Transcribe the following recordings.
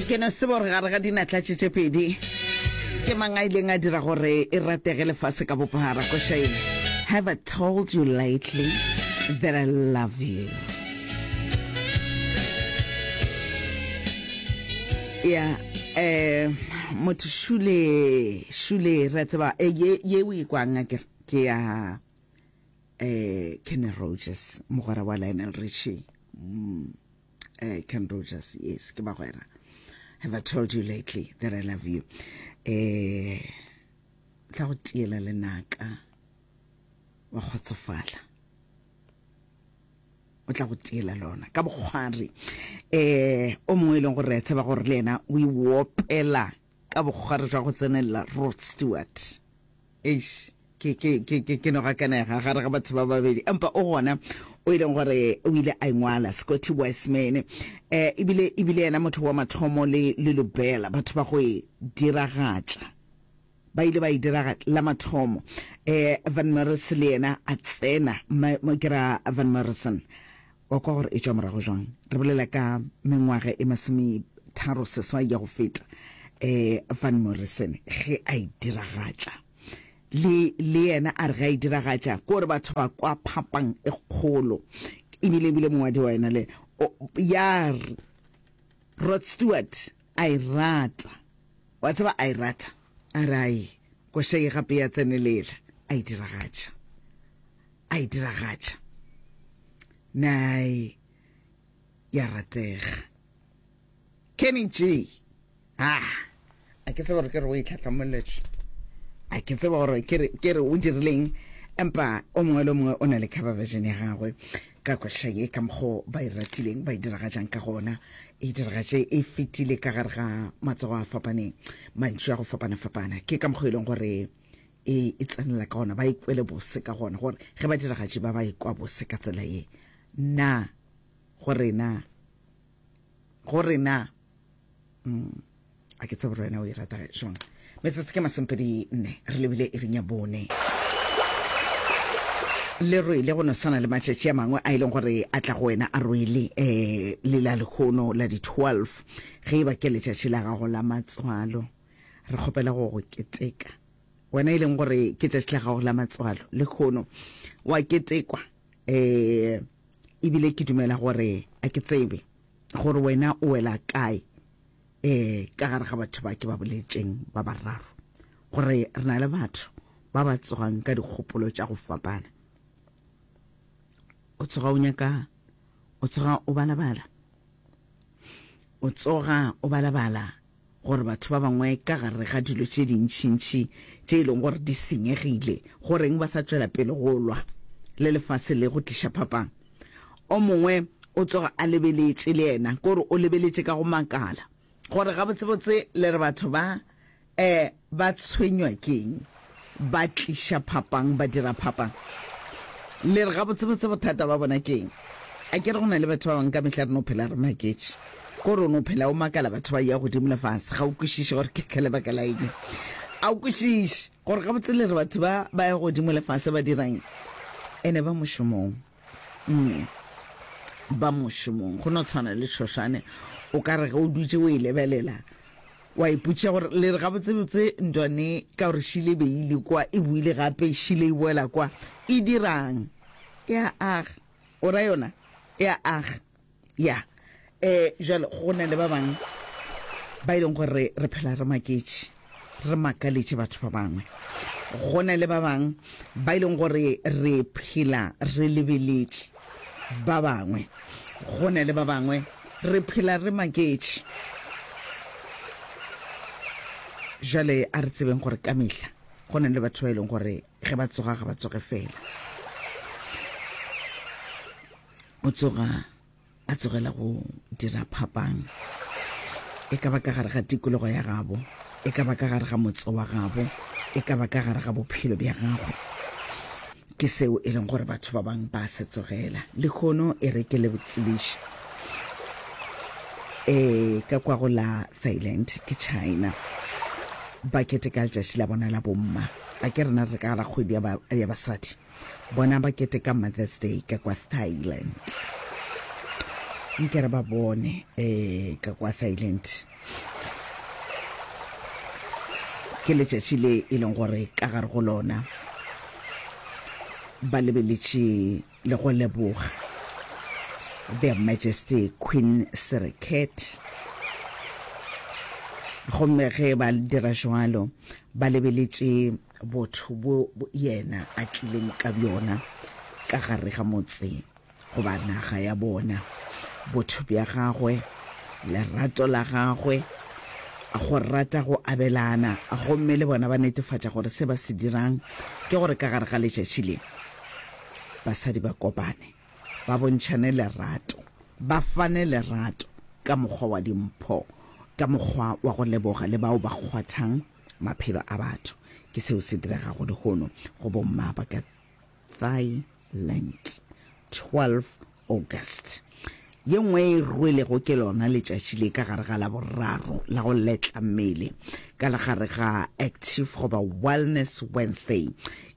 Ke no tseba gore gare ga dinatla tše tše pedi ke mang a ileng a dira gore e ratege lefase ka bophara. Koša ye, Have I told you lately that I love you? Ya, eh, motho šule, šule, re a tseba, eh, ye, ye o e kwang akere, ke ya, eh, Kenny Rogers, mogwera wa Lionel Richie. Mm. Eh, Ken Rogers, yes, ke bagwera. Have I told you lately that I love you? Eh, tla go tiela lenaka wa kgotsofala. O tla go tiela lona ka bokgwari. Eh, o mongwe e leng gore re a tseba gore le yena o e opela ka bokgwari jwa go tsenelela Rod Stewart. Eish, ke, ke, ke, ke, ke no gakanega gare ga batho ba babedi. Empa o gona o e leng gore o ile a ingwala, Scotty Wiseman. Eh, ebile, ebile yena motho wa mathomo le, le Lubella, batho ba go e diragatša. Ba ile ba e diragatša la mathomo. Eh, Van Morris le yena a tsena, ma, ma, ke ra Van Morrison. Wa kwa gore e tšwa morago jwang? Re bolela ka mengwaga e masometharo seswai ya go feta, eh, Van Morrison ge a e diragatša. Le, le yena a re ge a e diragatša, ke gore batho ba kwa phapang e kgolo. Ebile, ebile mongwadi wa yona le, o, ya Rod Stewart a e rata. Wa tseba a e rata. A re, Ai, koša ye gape ya tsenelela. A e diragatša. A e diragatša. Nai, ya ratega. Kenny G. Ah, a ke tsebe gore ke re o e tlhatlamolletše. A ke tsebe gore ke re ke re o dirileng, empa o mongwe le o mongwe o na le cover version ya gagwe ka koša ye ka mokgo ba e ratileng ba e diragatšang ka gona. E diragatše e fetile ka gare ga matsogo a fapaneng, mantšu a go fapana-fapana. Ke ka mokgo e leng gore e e tsenela ka gona, ba e kwele bose ka gona, gore ge badiragatši ba ba e kwa bose ka tsela ye, na go rena, go rena, mm, a ke tsebe gore wena o e rata jwang. Metsotso ke masomepedi nne, re lebile iring ya bone. Le rwele go no swana le matšatši a mangwe a e leng gore a tla go wena a rwele um le la lehono la di-12 ge e ba ke letšatši la gago la matswalo. Re kgopela go go keteka. Wena e leng gore ke tšatši la gago la matswalo lehono, wa ketekwa. Um ebile ke dumela gore a ke tsebe gore wena o wela kae um ka gare ga batho ba ke ba boletšeng ba bararo, gore re na le batho ba ba tsogang ka dikgopolo tša go fapana. O tsoga o nyaka, o tsoga o balabala, o tsoga o balabala gore batho ba bangwe ka gare ga dilo tše dintšintši tše e leng gore di senyegile, go reng ba sa tšwela pele go lwa le lefase le go tliša phapang? O mongwe o tsoga a lebeletše le yena, ke gore o lebeletše ka go makala gore gabotsebotse le re batho ba E, ba tshwenywa ke'ng? Ba tliša phapang, ba dira phapang. Le re gabotsebotse bothata ba bona ke'ng? A ke re go na le batho ba bangwe ka mehla re no phela re maketše. Ko re o no phela o makala batho ba ya godimo le fase, ga o kwešiše gore ke ka lebaka la eng. A o kwešiše gore gabotse le re batho ba ba ya godimo le fase ba dirang? Ene ba mošomong. Mm. Ba mošomong. Go no tshwana le tšhošane, o ka re ge o dutše o e lebelela, Wa ipotšiša gore, Le re gabotsebotse ntwane ka gore šile e be e ile kwa, e boile gape, šile e boela kwa, e dirang? E a aga. O ra yona? E a aga. Ya. Eh, jwale go na le ba bangwe ba e leng gore re phela re maketše, re makaletše batho ba bangwe. Go na le ba bangwe ba e leng gore re phela re lebeletše ba bangwe. Go na le ba bangwe re phela re maketše. Jwale a re tsebeng gore ka mehla go na le batho ba e leng gore ge ba tsoga ga ba tsoge fela. O tsoga a tsogela go dira phapang, e ka ba ka gare ga tikologo ya gabo, e ka ba ka gare ga motse wa gabo, e ka ba ka gare ga bophelo bja gagwe. Ke seo e leng gore batho ba bang ba se tsogela. Lehono e re ke le tsebiše e ka kwa go la Thailand ke China ba keteka letšatši la bona la bomma. A ke rena re ka gara kgwedi ya basadi. Bona ba keteka Mother's Day ka kwa Thailand. Nke re ba bone eh ka kwa Thailand. Ke letšatši le e leng gore ka gare go lona ba lebeletše le go leboga Their Majesty Queen Sirikit. Gomme ge ba dira jwalo ba lebeletše botho bo yena a tlileng ka bjona ka gare ga motse goba naga ya bona, botho bja gagwe, lerato la gagwe, go rata go abelana, gomme le bona ba netefatša gore se ba se dirang ke gore ka gare ga letšatši le basadi ba kopane, ba bontšhane lerato, ba fane lerato ka mokgwa wa dimpho, ka mokgwa wa go leboga le bao ba kgwathang maphelo a batho. Ke seo se diregago lehono go bomma ba ka Thailand, 12 August. Ye nngwe e rwelego ke lona letšatši le ka gare ga Laboraro la go letla mmele ka la gare ga Active goba Wellness Wednesday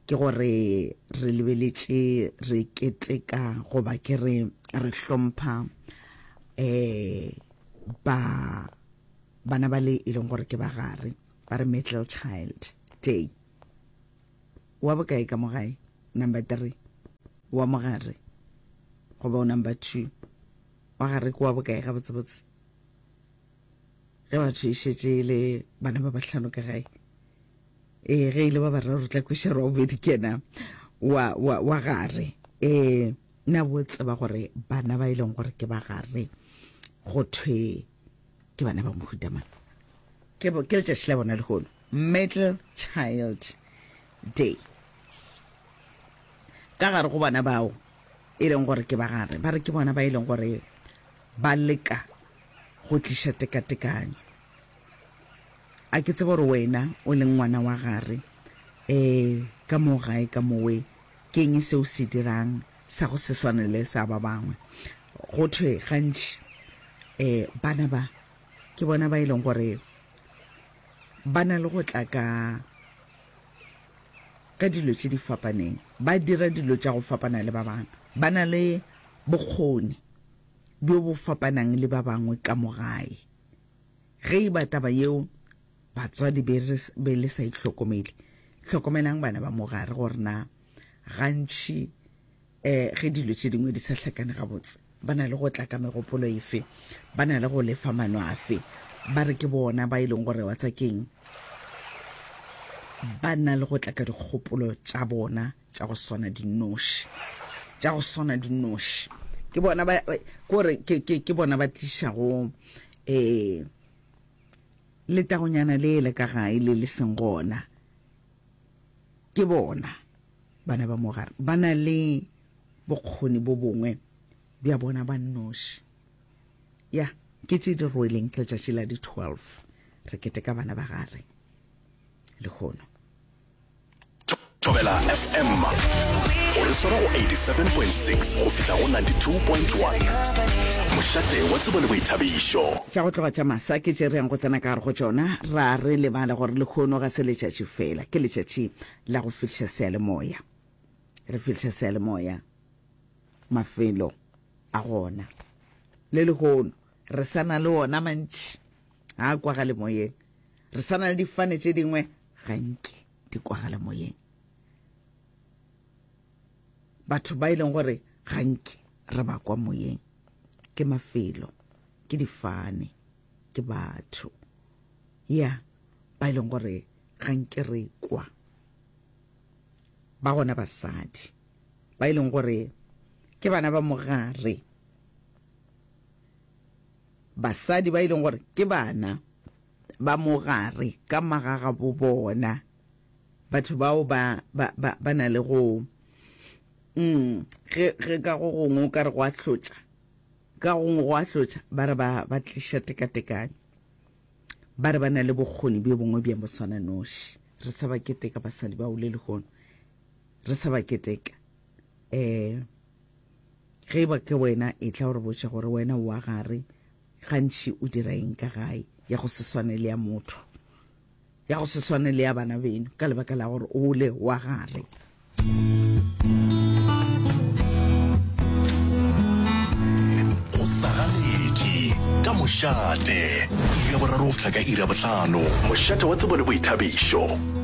ke gore re lebeletše re keteka goba ke re re hlompha eh ba bana ba le e leng gore ke ba gare ba re middle child day. Wa bokae ka mo gae? Number 3. Wa mogare goba o number 2? Wa gare ke wa bokae gabotsebotse? Ge batho e šetše e le bana ba bahlano ka gae. Ee, ge e le ba bararo tla kweša wa bobedi ke yena wa, wa, wa gare. Ee, na bo tseba gore bana ba e leng gore ke ba gare go thwe ke bana ba mohuta mang? Ke, ke letšatši la bona lehono. Middle Child Day. Ka gare go bona bao e leng gore ke ba gare, ba re ke bona ba e leng gore ba leka go tliša tekatekanyo. A ke tsebe gore wena o leng ngwana wa gare um ka mo gae ka mowe ke eng seo se dirang sa go se swane le sa ba bangwe. Go thwe gantši um bana ba ke bona ba e leng gore ba na le go tla ka ka dilo tše di fapaneng, ba dira dilo tša go fapana le ba bangwe, ba na le bokgoni bjo bo fapanang le ba bangwe ka mo gae. Ge e ba taba yeo batswadi be re be le sa itlhokomele, hlokomelang bana ba mo gare gore na gantši um ge dilo tše dingwe di sa hlakane gabotse, ba na le go tla ka megopolo efe, ba na le go lefa mano afe. Ba re ke bona ba e leng gore wa tsa keng, ba na le go tla ka dikgopolo tša bona tša go swana dinoši, tša go swana dinoši. Ke bona ba, kore ke, ke, ke bona ba tlišago um letagonyana le le ka gae le le seng gona. Ke bona bana ba mogare ba na le bokgoni bo bongwe bja bona ba nnoši. Ya, ke tše di rweleng letšatši la di 12 re keteka bana ba gare lehono. Thobela FM o re swara go 87.6 go fihla go 92.1. Mošate wa tsebo le boithabišo. Tša go tloga tša masa ke tše re yang go tsena ka gare go tšona. Ra re lebala gore lehono ga se letšatši fela, ke letšatši la go fihliša seyalemoya. Re fihliša seyalemoya mafelo a gona. Le lehono re sa na le ona mantši a kwagale moyeng. Re sa na le difane tše dingwe ga nke di kwagale moyeng. Batho ba e leng gore ga nke re ba kwa moyeng ke mafelo, ke difane, ke batho ya ba e leng gore ga nke re kwa. Ba gona basadi ba e leng gore ke bana ba mogare, basadi ba e leng gore ke bana ba mogare ka magagabo bona. Batho bao ba, ba, ba, ba na le go, mm, ge, ge ka go gongwe o ka re go a hlotša, ka gongwe go a hlotša, ba re ba, ba tliša tekatekanyo. Ba re ba na le bokgoni bjo bongwe bja moswananoši. Re sa ba keteka basadi bao le lehono. Re sa ba keteka. Eh, ge e ba ke wena, etla o re botše gore wena o wa gare, gantši o dira eng ka gae, ya go se swane le ya motho. Ya go se swane le ya bana beno ka lebaka la gore o le wa gare. Go sa gale. Mošate, iri ya boraro go fihla ka iri ya bohlano. Mošate wa tsebo le boithabišo.